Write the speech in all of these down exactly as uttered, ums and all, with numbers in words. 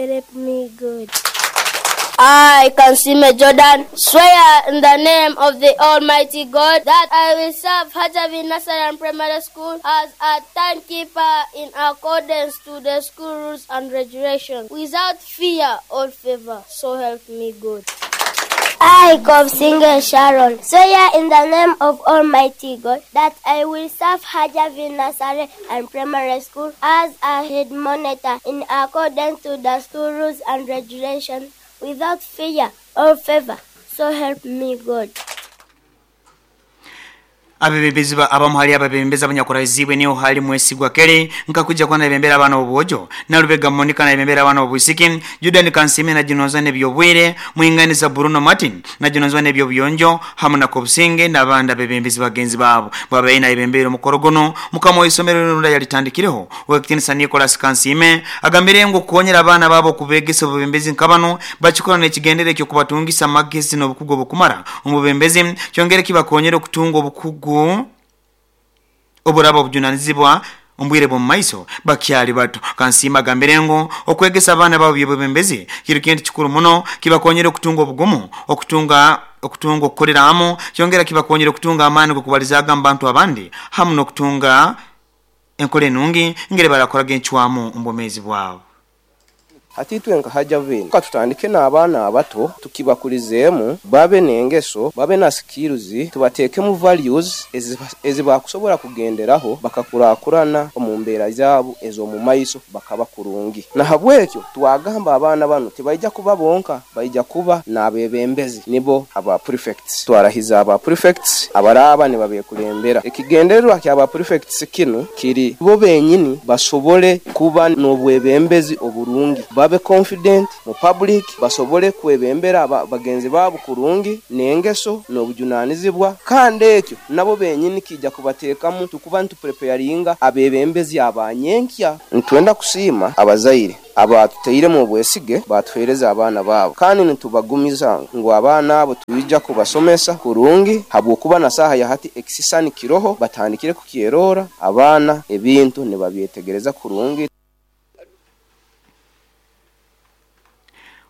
help me God. I, Kansime Jordan, swear in the name of the Almighty God that I will serve Hajavi Nursery and Primary School as a timekeeper in accordance to the school rules and regulations, without fear or favor. So help me God. I, Singer Sharon, swear in the name of Almighty God that I will serve Hajavi Nursery and Primary School as a head monitor in accordance to the school rules and regulations, without fear or favor. So help me God. Abebembezi abamu hali abebembezi abanyakuraizibwe niyo hali Mwesigwa Kere nkakuja kwa nabembera abana obuojo Nalubega Monica nabembera abana obwisiki Judan Kansime na Jinoza nebyobwire Mwinganiza Bruno Martin na Jinoza nebyobuyonjo hamu na Kobusinge nabanda bebembezi bagenzi babo babaye na ibembero mukorogono mukama w'isomero runda yalitandikireho Wekitinisa Nicholas Kansime agambire ngo kuonyera abana babo kubegesa obubembezi nkabano bachikora n'ekigendere kyo kubatungisa magezi n'obukugu obukumara omubembezi kyongere kibakonyera okutunga obukugu oburaba obujunanizibwa ombwire bw'omumaiso bakyali bato. Kansima agambire ngo okwegesa abaana babo by'obubembezi kiri kintu kikuru muno kibakonyera okutunga obugumu okutunga okutunga okukolera hamu kyongera kibakonyera okutunga amaani g'okubalizaaga mu bantu abandi hamu n'okutunga enkola enungi ngeri barakoraga encwamu omu bwomeezi bwabo. Hati twe nka Hajavini tutandike n'abaana abato tukibakulizeemu babe n'engeso babe na skills tubateekemu values ezibakusobola kugenderaho bakakurakurana omu mbeera zaabo ez'omu maiso bakaba kurungi. Nahabwekyo twagamba abaana bano tibaija kuba bonka, baija kuba n'abebembezi nibo aba prefects. Twarahiza aba prefects abaraba nibabekulembera. Ekigendererwa ky'aba prefects kinu kiri bo benyini basobole kuba n'obwebembezi oburungi, babe confident mu public, basobole kwebembera bagenzi babo kurungi n'engeso n'obujunanizibwa, kandi ekyo nabo benyini kijja kubateekamu tukuba ntupreparinga abebembezi abanyenkya. Ntwenda kusiima abazaire abatuteiremu obwesige batuhereza abaana babo, kandi nitubagumiza ngu abaana abo tuija kubasomesa kurungi habwokuba na saha ya hati ekisisani kiroho batandikire kukyerora abaana ebintu nibabyetegereza kurungi.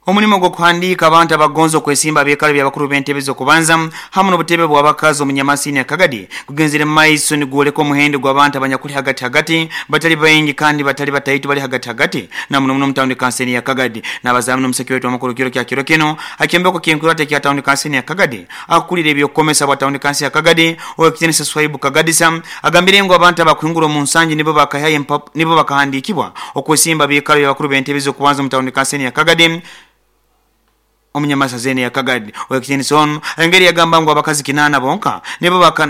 Omulimo gw'okuhandiika abantu abagonza okwesimba abeekalo by'abakuru b'entebe z'okubanza hamu n'obutebe bw'abakazi omunyamasini ya Kagadi kugenzere maiso nigwoleka omuhendo gw'abantu abanyakuli hagati hagati batali baingi kandi batali bataitu bali hagati hagati na muno muno mu tawuni kanseni ya Kagadi. N'abazaamu n'omuseki wetu amakuru kiro kya kiro kino akyombeko ky'enkurata kya tawuni kanseni ya Kagadi akulira ebyokukomesa bwa tawuni kanseni ya Kagadi Owekitinisa Swaibu Kagadisa agambire ngu abantu abakuhingura omu nsangi nibo bakahaye nibo bakahandiikibwa okwesimba abeekalo by'abakuru b'entebe z'okubanza mu tawuni kanseni ya Kagadi omunyamasa zene ya Kagadi. Owekitinisa ono engeri yagamba ngu abakazi kinana bonka nibo baka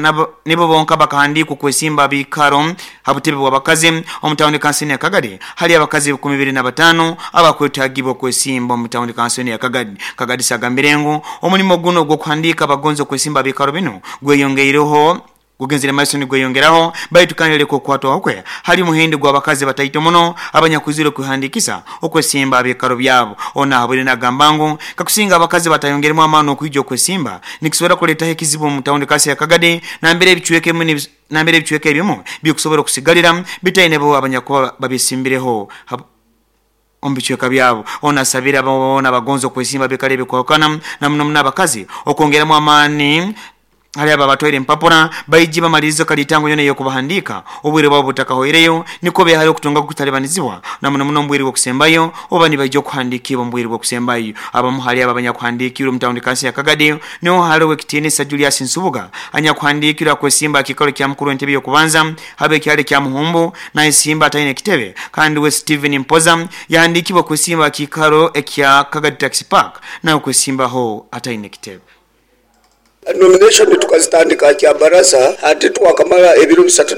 nibo bonka bakahandikwa kwesimba bikaro habutebe bw'abakazi omu tawuni kanseni ya Kagadi hali abakazi kumi bibiri na batano abakwetagibwa kwesimba omu tawuni kanseni ya Kagadi. Kagadi sagambire ngu omulimo guno gw'okuhandika abagonza kwesimba bikaro bino gweyongeireho gugenzere maiso nigweyongeraho baitu kandi leko kwatwa okwe hali muhindi gw'abakazi bataito muno abanyakuzire kuhandikisa okwesimba abekaro byabo. Ona habure nagamba ngu kakusinga abakazi batayongeremu amaani okwijja okwesimba nikisobora kuleetaho ekizibu mu tawuni kasi ya Kagadi nambere ebichweke mu nambere ebichweke ebimu bikusobola okusigalira bitaine bo abanyakuba babisimbireho omubichweka byabo. Ona asabira bona bagonza okwesimba bekale bikwakana na muno muno abakazi okwongeramu amaani hali aba batwaire empapura baiji bamalirizo kalitango yona yokubahandika obwire bwabo butakahoireyo niko behali okutunga kutalibanizibwa na muno muno mbwire bw'okusembayo oba nibaija okuhandikibwa mbwire bw'okusembayo. Abamu hali aba abanyakuhandikirwe mu tawuni kansi ya Kagadi niho hali Owekitinisa Julius Nsubuga anyakuhandikirwe akwesimba akikalo kya mukuru w'entebe y'okubanza habe ekyalo kya Muhumbu na esimba ataine ekitebe, kandi we Steven Mpoza yahandikibwa kwesimba akikalo ekya Kagadi Taxi Park nawe kwesimbaho ataine ekitebe. Nomination tukazitandika kya barasa ati twakamala ebiro bisatu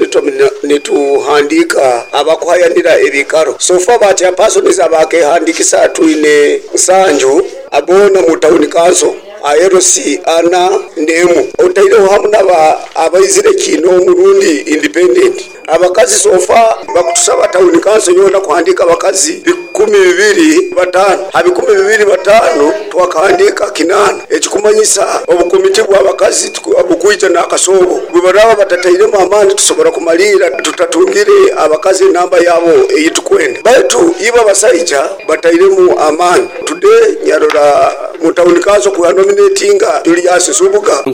nituhandika abakuhayanira ebikaro. So far ba persons abakehandikisa twine nsanju abona mu town council A L C ana nemu otaireho hamu naba abaizire kino murundi independent. Abakazi so far bakutusaba town council yona kuhandika abakazi bikumi bibiri batano, ha bikumi bibiri batano twakahandika kinana. Ekikumanyisa obukomiti bw'abakazi obukwija n'akasobo bwe baraba batatairemu amaani tusobora kumalira tutatungire abakazi enamba yabo eyitukwenda. Baitu ibo abasaija batairemu amaani. Today nyarora mu town council ku nominatinga Julius Nsubuga.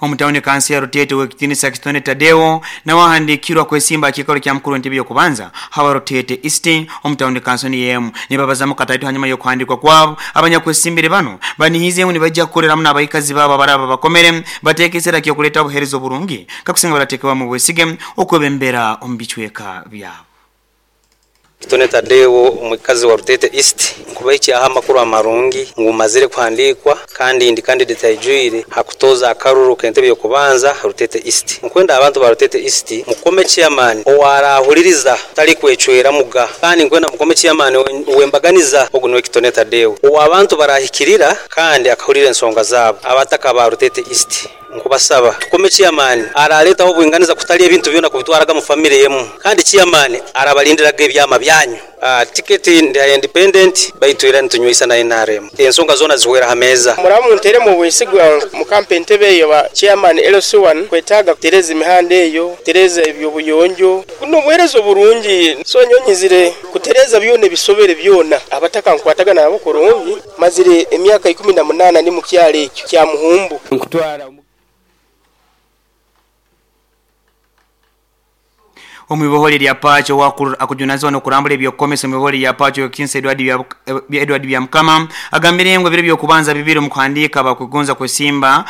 Omutawuni kansi ya Rutete w'ekitinisa Kitone Tadeo nawahandikirwa kwesimba akikalo kya mukuru w'entebe y'okubanza hawa Rutete East omutawuni kansi ni yemu nibabazamu kataitu hanyuma y'okuhandikwa kwabo. Abanyakwesimbire bano banihizemu nibajja kukoleramu n'abaikazi babo abaraba bakomere bateekesera kyokuleta obuheereza oburungi kakusinga barateekebwa mu bwesige okwebembera omu bicweka byabo. Kitone Tadeo omukazi wa Rutete East nkubaiki aha makuru amarungi ngumazire kuhandikwa kandi ndi candidate aijwire hakutoza akaruru kentebe yokubanza Rutete East. Nkwenda abantu ba Rutete East mukome chairman owarahuliriza tali kwecwera muga, kandi nkwenda mukome chairman wembaganiza ogunwe Kitone Tadeo owa abantu barahikirira kandi akahulira ensonga zabo. Abataka ba Rutete East nkubasaba tukome chairman araletaho obwinganiza kutali ebintu byona kubitwaraga mu family yemu, kandi chairman arabalindiraga ebyama byanyu. Uh, tiketi ndi independent baitu era ntunywisa na N R M ensonga zona ziwera hameza. Muramu ntere mu bwesigwa mu campaign tebe eyo ba chairman L C one kwetaga kutereza imihanda eyo tereza ebyo buyonjo kuno buherezo burungi so nyonyizire kutereza byone bisobere byona abataka nkwataga nabo kurungi mazire emyaka ikumi na munana ni mu kyalo ekyo kya Muhumbu. Nkutwara Omubiboholi lya Pacho wakuru akujunazwa nokurambula ebyokomesa omubiboholi lya Pacho Kinsa Edward bya Edward bya Mukama agambire ngo biro byokubanza bibiri mu kuhandika abakugonza kwesimba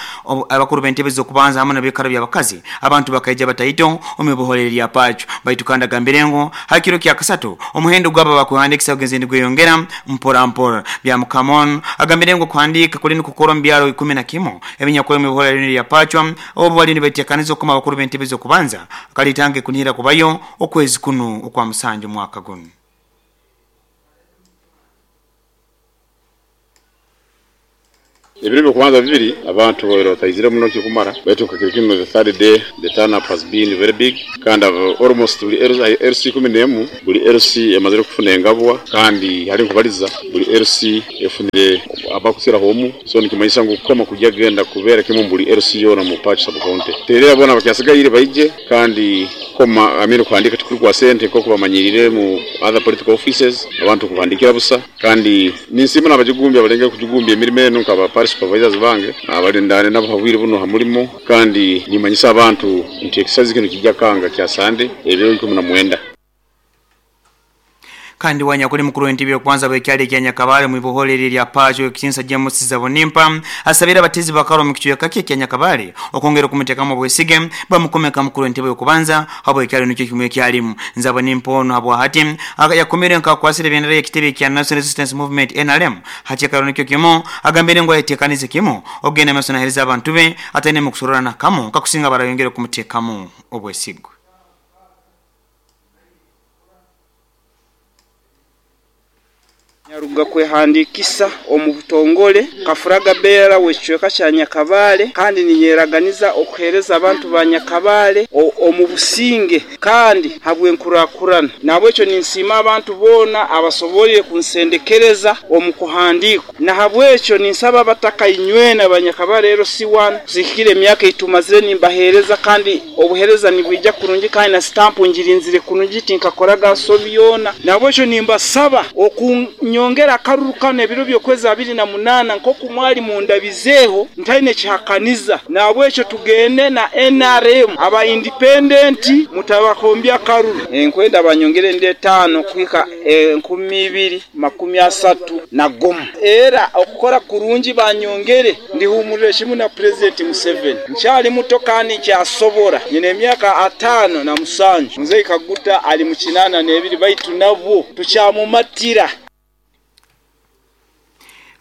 abakuru b'entebe zokubanza hamwe n'abikaro by'abakazi abantu bakaija bataito omubiboholi lya Pacho. Baitu kandi agambire ngo hakiro kya kasatu omuhendo gwaba bakuhandikisa ogenze ndigweyongera mpora mpora. Bya Mukamon agambire ngo kuhandika kuli nukukora mbyaro ikumi na kimu ebinyakole omubiboholi lya Pacho obo bali nibetekaniza okuma abakuru b'entebe zokubanza kalitange kunira kubayo okwezi kuno okwa musanju mwaka guno. Ebiro byokubanza bibiri abantu boero batayizire muno kikumara baitu kakirikino the third day the turn up has been very big kandi almost buli L C kumi n'emu buli L C emazire kufuna engabwa kandi hari nkubaliza buli L C efunire abakusira homu so nikimanyisa ngu kukoma kujya genda kubera kimwe buli L C yona mu Pacho sub county terera bona bakyasigaire baije kandi koma amino kuhandika tukuri kwa sente koko bamanyirire mu other political offices abantu kuhandikira busa kandi ninsima nabajigumbya balenge kujugumbya emirimo eno nkaba supervisors bange abalindane nabo habwire buno hamulimo kandi nimanyisa abantu nti exercise kino kijja kanga kya Sunday ebiro ikumi na mwenda. Kandi wanyakuli mukuru w'entebe y'okubanza bw'ekyalo kya Nyakabale mu iboholi lya Pacho Kinsa James Zabonimpa asabira abatezi bakaro mu kichweka kye kya Nyakabale okongera kumuteekamu obwesige bamukomeka mukuru w'entebe y'okubanza habo ekyalo nikyo kimwe kyalimu. Nzabonimpa ono habwa hati yakomere nkakwasire bendera y'ekitebe kya National Resistance Movement N R M hachekaro nikyo kimo agambire ngo ayetekanize kimo ogenda amaso nahereza abantu be atene mu kusororana kamo kakusinga barayongera kumuteekamu obwesigwe. Nyaruga kwehandikisa omu butongole kafuraga bera w'ekicweka kya Nyakabale kandi ninyeraganiza okuhereza abantu ba Nyakabale omu businge kandi habwenkurakurana. Nabwekyo ninsiima abantu boona abasobolire kunsendekereza omu kuhandikwa, na habwekyo ninsaba abataka inywena ba Nyakabale L C one zikire emyaka itumazire nimbahereza kandi obuhereza nibwija kurungi kandi na stamp ngirinzire kurungi tinkakoraga nsobi yona. Nabwekyo nimbasaba oku nyongera akaruru kano ebiro byokwezi abiri na munana nkoku mwali mundabizeho ntaine kihakaniza. Nabwekyo tugende na N R M aba independent mutabakombya akaruru enkwenda banyongere ndi etano kwika enkumi ibiri makumi asatu na gumu era okukora kurungi banyongere ndihumurire kimu na President Museveni. Nkyali muto kandi nkyasobora nyine emyaka atano na musanju Mzee Kaguta ali mu kinana n'ebiri baitu nabwo tukyamumatira.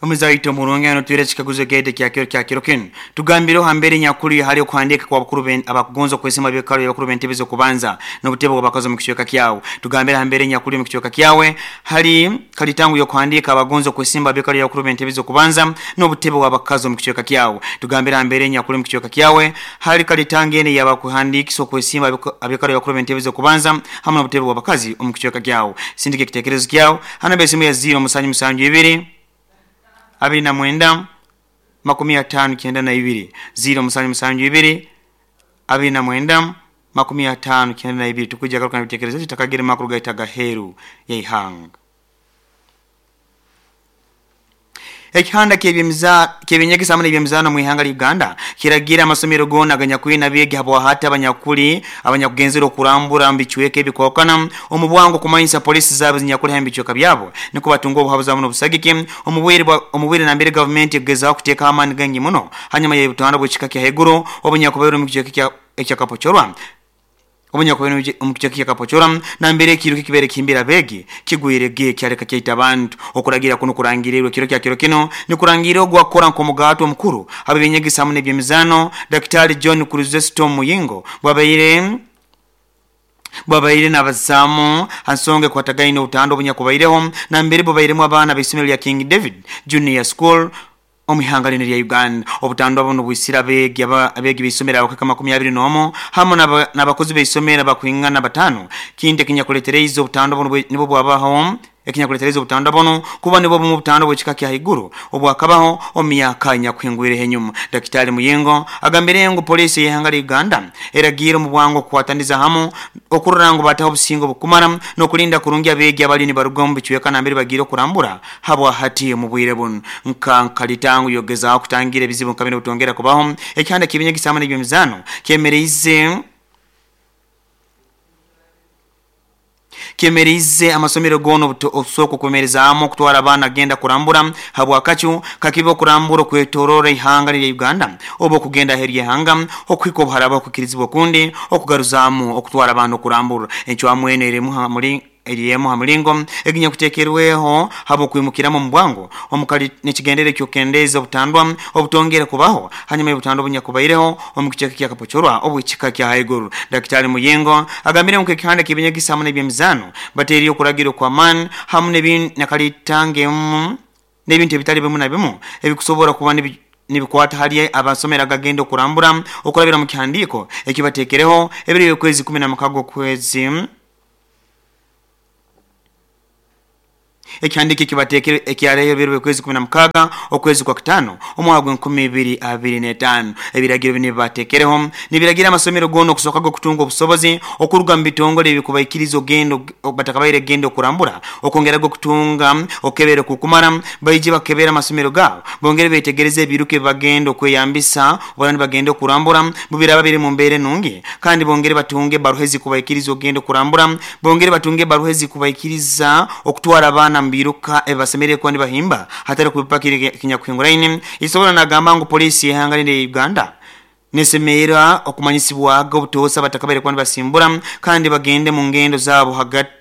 Omuzaito murungi ano twire chikaguzo gete kya kiro kya kiro kinu tugambiro hambere nyakuri hali okuhandika kwa bakuru ben abakugonzo kwesema byekalo ya bakuru bentebe zo kubanza n'obutebo bw'abakazi mu kichweka kyawe. Tugambira hambere nyakuri mu kichweka kyawe hali kalitangu yo kuhandika abagonzo kwesimba byekalo ya bakuru bentebe zo kubanza n'obutebo bw'abakazi mu kichweka kyawe. Tugambira hambere nyakuri mu kichweka kyawe hali kalitangene yabakuhandikisa kwesimba abyekalo ya bakuru bentebe zo kubanza hamwe n'obutebo bw'abakazi mu kichweka kyawe. Sindike kitekerezo kyawe hana besimu ya zero musanju musanju ibiri abiri na mwenda makumi atano kenda na ibiri zero musanju musanju ibiri abiri na mwenda makumi atano kenda na ibiri. Tukujja garuka n'ebitekerezo tutakagire makuru gaita gaheru yaihanga. Ekihanda ky'ebyemiza ky'ebinyegesa hamwe n'ebyemizaano mu ihanga lya Uganda kiragira amasomero gona aganyakuli n'abeegi habwahati abanyakuli abanyakugenzera okurambura mu bicweka ebikwakana omu bwangu kumanyisa polisi zaabo zinyakuli ha bicweka byabo niko batunga obuhabuzi hamwe n'obusagiki omu bwire omu bwire nambere gavumenti egezaho kuteeka amaani gangi muno hanyuma y'obutanda bw'ekika kya haiguru obunyakubaire omu kicweka kya ekyakapochorwa obunyakubaire omu kicweka kya Kapochora nambere ekiruka kibere kimbira begi kigwire ge kyaleka kyaita abantu. Okuragira kuno kurangirirwe kiro kya kiro kino nikurangira ogwakora nk'omugato omukuru abebinyegesa hamwe n'ebyemizaano Daktari John Chrysostom Muyingo bwabaire bwabaire n'abazamu hansonge kwatagaine obutando obunyakubaireho nambere bubairemu abaana b'isomero lya King David Junior School omwihanga lino lya Uganda. Obutando buno bwisira abegi abegi b'isomero abakaka makumi abiri n'omu hamwe n'abakozi b'isomero abakwingana batano kindi ekinyakuletereize obutando buno nibwo bwabaho ekinyakuletereza obutando buno kuba nibwo bumu obutando bw'ekika kya haiguru obwakabaho omu myaka enyakuhingwireho enyuma. Daktari Muyingo agambire ngu polisi y'ihanga lya Uganda eragiire omu bwangu okukwataniza hamu okurora ngu bataho obusingo bukumara n'okulinda kurungi abeegi abali nibaruga omu bicweka nambere bagiire okurambura habwa hati omu bwire buno nka nkalitangu yogezaho kutangira ebizibu nka bino obutongera kubaho. Ekihanda ky'ebinyegesa hamwe n'ebyemizaano kyemereize kyemereize amasomero goona obusooko okwemerezaamu okutwara abaana agenda kurambura habwakacu kakiba okurambura okwetorora ihanga lya Uganda oba okugenda aheeru y'ihanga okuhika obuharaba okukirizibwa okundi okugaruzaamu okutwara abaana okurambura. Encwamu eno erimu hamuri eriyemu hamulingo eginyakuteekerweho habwokwimukiramu omu bwangu omukali nekigendere kyokendeza obutandwa obutongere kubaho hanyuma y'obutandwa obunyakubaireho omu kicweka kya Kapochorwa obw'ekika kya haiguru. Daktari Muyingo agambire ngu ekihanda ky'ebinyegesa hamwe n'ebyemizaano bateeriyo okuragirwa kw'amaani hamwe nakalitangemu n'ebintu ebitali bimu na bimu ebikusobora kuba nibikwata hali abasomero agagenda okurambura okurabira mu kihandiiko ekibateekereho ebiro by'okwezi kumi na mukaga okwezi ekihandiko ekibateekere ekyareyo ebiro by'okwezi kumi na mukaga okwezi kwa kitaano omwaka gw'enkumi ibiri abiri n'etaano. Ebiragiro bino bibateekereho nibiragira amasomero goona okusookaga okutunga obusobozi okuruga mu bitongole ebikubaikiriza ogenda batakabaire genda okurambura okwongeraga okutunga okebera okukumara baije bakebera amasomero gaabo bongere beetegereze ebiruka ebibagenda okweyambisa obara nibagenda okurambura bubiraba biri mu mbeera enungi kandi bongere batunge ebbaruha ezikubaikiriza ogenda okurambura bongere batunge ebbaruha ezikubaikiriza okutwara abaana mbiruka ebasemerere kuba nibahimba hatari kubipakira kinyakuhinguraine. Isobola nagamba ngu polisi y'ihanga lya Uganda nesemeera okumanyisibwaga obutoosa batakabaire kuba nibasimbura kandi bagende mu ngendo zaabo hagati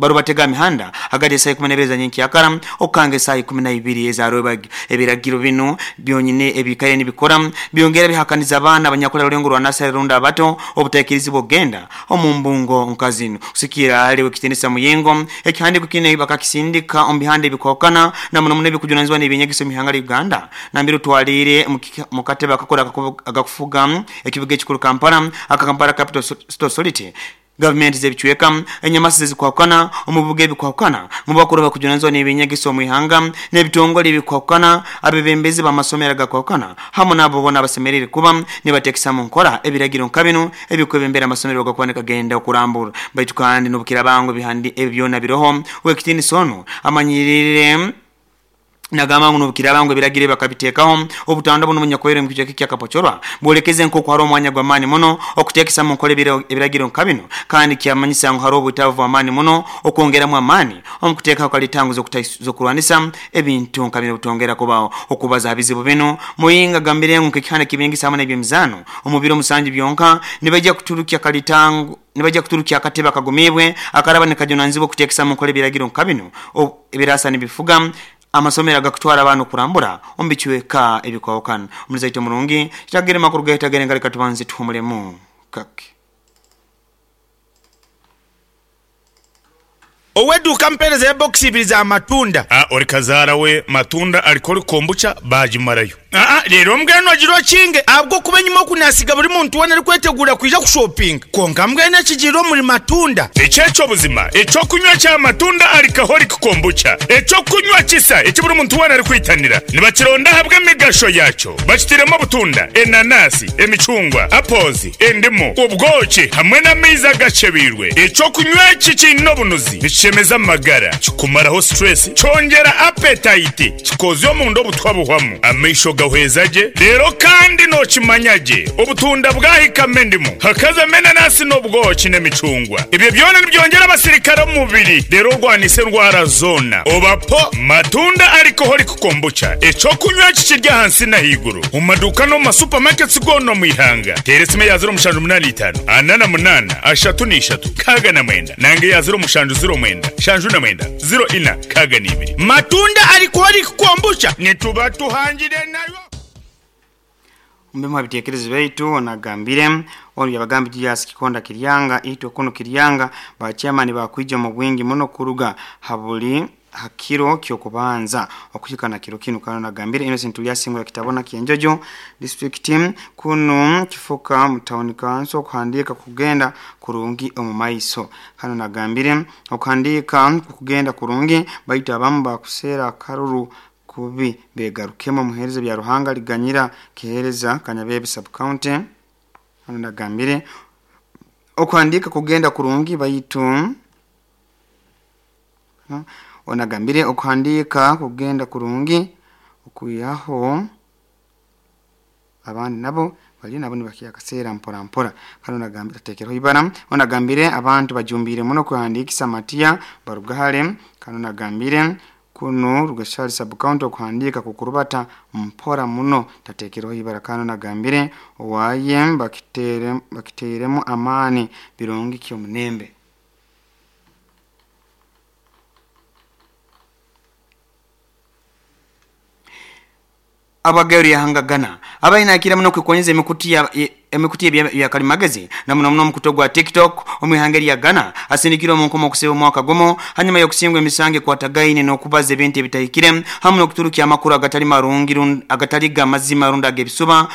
barubatega mihanda hagati y'esaaha ikumi n'ebiri ezanyenkyakara okukanga esaaha ikumi na ibiri ezarwebagyo. Ebiragiro bino byonyine ebikaire nibikora byongera bihakaniza abaana abanyakulya rulengo rwa nasari rundi abato obutaikirizibwa okugenda omu mbungo nka zino. Kusikira hali w'ekitinisa Muyingo ekihandiko kino bakakisindika omu bihanda ebikwahukana na muno muno ebikujunanizibwa n'ebyenyegeso omu ihanga lya Uganda nambere otwaliire mu katebe akakora agakufuga ekibuga ekikuru Kampala aka Kampala Capital Authority gavumenti z'ebicweka enyamasi ezikwahukana omu bibuga ebikwahukana mu bakuru bakujunanizibwa n'ebyenyegeso omu ihanga n'ebitongole ebikwahukana abebembezi b'amasomero agakwahukana hamwe n'abo boona abasemerere kuba nibateekesa mu nkora ebiragiro nka bino ebikwebembera amasomero gakuba nikagenda okurambura. Baitu kandi n'obukirabango ebihandi ebi byona biroho w'ekitinisa ono amanyirire nagamba ngu n'obukirabango ebiragiro bakabiteekaho obutando buno bunyakubaire omu kicweka kya Kapochorwa bwolekeze nk'oku hariho omwanya gw'amaani muno okuteekesa mu nkora ebiragiro nka bino kandi kyamanyisa ngu hariho obwetaavu bw'amaani muno okwongeramu amaani omu kuteekaho kalitangu z'okurwanisa ebintu nka bino obutongera kubaho. Okubaza aha bizibu bino Muyingo agambire ngu nk'ekihanda ky'ebyengisa hamwe n'ebyemizaano omu biro musanju byonka nibaija kuturukya kalitangu nibajja kuturukya akatebe akagumibwe akaraba nikajunanizibwa okuteekesa mu nkora ebiragiro nka bino ebirasa nibifuga amasomero agakutwara abantu kurambura omu bicweka ebikwawukana. Omulizaito murungi, kitagere makuru gaitagere ngaleka tubanze tuhumulemu kake. Oweduka mpereza ya box ibiri za matunda. Ah, ori kazaara we matunda aliko ori kombucha bagimarayo. Aa, rero mbwenu ogira okinge ahabwo kuba enyuma okunasiga buri muntu wena arikwetegura kwija kushopinga, konka mbwenu ekigiire omuri matunda. Ekyekyo buzima ekyokunywa kya matunda alcoholic kombucha, ekyokunywa kisa eki buri muntu wena arikwitanira, nibakironda ahabw'emigasho yakyo. Bakitiremu obutunda, enanasi, emicungwa, apples, endimu, obwoki hamwe n'amaizi agacebiirwe. Ekyokunywa eki kiine obunuzi, nikishemeza amagara, kikumaraho stress, kyongera appetite, kikozya omunda obutwa buhwamu, amaisho gahweza gye. Rero kandi nokimanya gye, obutunda bwahikamo endimu, hakazamo enanasi n'obwoki n'emicungwa, ebyo byona nibyongera abasirikare omu mubiri, rero orwanisa endwara zoona. Obapo matunda alcoholic kombucha, ekyokunywa kikiri ahansi n'ahaiguru mu maduuka no mu masupamaketi goona omu ihanga. Teera esimu eya ziro mushanju munaana itaano ana na munaana ashatu n'ishatu kaaga na mwenda, nange eya ziro mushanju ziro mwenda shanju na mwenda ziro ina kaaga n'ibiri. Matunda alcoholic kombucha, nituba tuhangire nayo. Mbemu abitekerezo baitu onagambire ono yabagambi Julius Kikonda Kiryanga itwe kuno Kiryanga ba chairman bakwija mu bwingi muno kuruga habuli hakiro kyokubanza okuhika na kiro kino. Kana nagambire Innocent Ulyasingura kitabona kienjojo district team kuno kifuka mu town council kuhandika kugenda kurungi omu maiso. Hano nagambire okuhandika kugenda kurungi baitu abamu bakusera karuru kubi begarukemo. Muhereza bya Ruhanga liganyira kihereza Kanyabebe sub county. Hano nagambire okuhandika kugenda kurungi baitu no? Onagambire okuhandika kugenda kurungi okuyaho abandi nabo bali nabo nibakiya kaseera mpora mpora. Kano nagambire tekero ibara. Onagambire abantu bajumbire muno kuhandikisa matia barugahale. Kano nagambire kuno Rugashali sub county okuhandika kukurubata mpora muno tatekero ibara. Kano nagambire owaye bakitere bakiteremu amani birungi kyo munembe. Abagari yahangagana abaina akira muno kwikonyeza emikuti ya emikuti ya kalimagezi na muno muno mukuto gwa TikTok omwihangeri ya Ghana asindikira omunkomo okuseba omwaka gumo hanyuma yokusingwa emisange kwa tagaine n'okubaza ebintu ebitahikire hamwe n'okuturukia amakuru agatali marungi agatali ga mazima runda gebisuba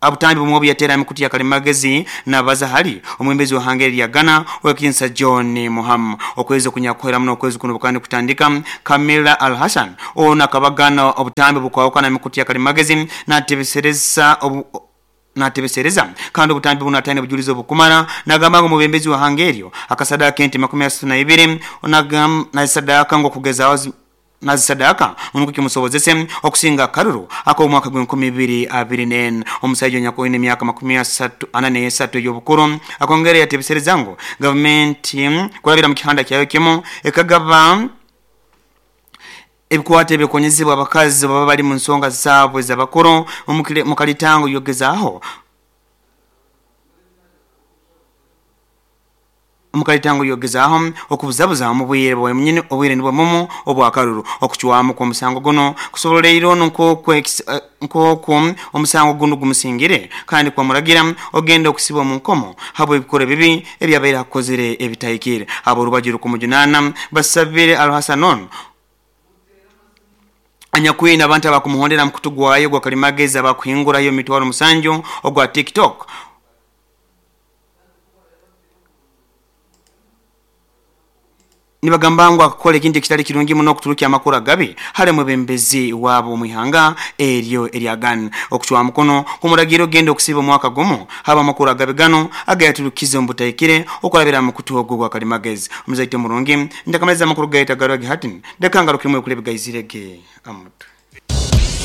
abutambi bumwe yatera emikuti ya kalimagezi na bazahali omwembezi wa hangeri ya Ghana wekinsa John Muhammad okwezi okunyakwera muno okwezi kuno bukandi kutandika Kamila Al Hassan ona kabagana obutambi bukwawukana emikuti ya kalimagezi natebesereza obu natebesereza kandi obutambi bunatane bujulizo bukumara nagamba ngo mubembezi wa hangerio akasadaka enti makumi asatu na ibiri onagam na sadaka ngo kugeza na sadaka unuko kimusobozese okusinga karuru ako omwaka gw'enkumi bibiri abiri n'ena. Omusajja nyakoine emyaka makumi asatu ana n'esatu ey'obukuru akongera yatebesereza ngo gavumenti kulabira mu kihanda kyayo kimu ekagaba ebikwate ebikonyezebwa abakazi baba bali mu nsonga zaabwe z'abakuru mu kalitango yogezaaho mukalitango yogezaaho okubuzabuza mu bwire bwemnyini obwire nibwo mumu obwakaruru okuchwamu kwa musango guno kusoboleiro nko nkoko omusango guno gumusingire kandi kwa muragira ogenda okusibwa mu nkomo habo ebikore bibi ebyabaira akozere ebitayikire abo rubajiro kumujunana basabire Al-Hasanon anyakwina abantu abakumuhondera mukutugwayo gwa kalimagezi abakuhingurayo mitwaro musanju ogwa TikTok nibagamba ngo akakora ikindi kitali kirungi muno kuturukia amakuru gabi hale mwebembezi wabo mwihanga eryo eryagan okuchwa mukono kumuragiro gendo okusiba mwaka gumu haba amakuru gabi gano agayaturukize mbutayikire okulabira mu kutuogo gwa kalimagezi omuzaite murungi ndakamaliza amakuru gaita garwa gihatin ndakangarukimwe kulebe gaizirege amutu.